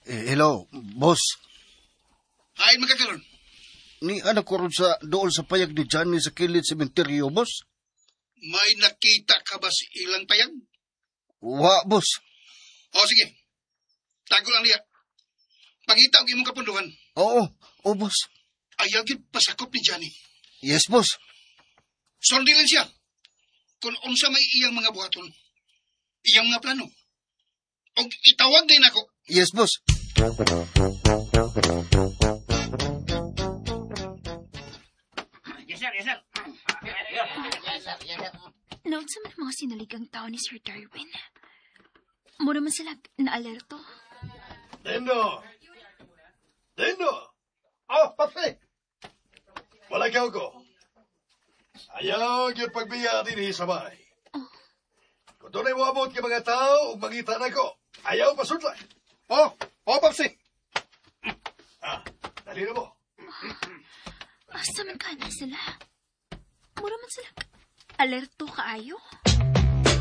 Eh, hello, boss. Hain man ka karon. Ni anak ko ron sa dool sa payag ni Johnny sa kilid sementeryo, boss. May nakita ka ba sa ilang payag? Wa, boss. O sige. Tago lang niya. Pangita og imong kapunduhan. Oo, oh, boss. Ayaw gyud pasakop ni Johnny. Yes, boss. Sundi lang siya. Kung unsa may iyang mga buhaton. Iyang mga plano. Og itawag din ako. Yes, boss. Yes, sir. Yes, sir. Naunsa man ang mga sinaligang tao ni Sir Darwin. Mura man sila naalerto. Dindo! Dindo! Oh, papi. Wala ka ko. Ayaw gyud pagbiya dinhi sa balay. Kung dunay moabot kay mga tao ug mangita nako, ayaw pasudlay. Oh, Papsi. Ah, dali na mo. Asa man ka na sila? Mura man sila alerto kaayo.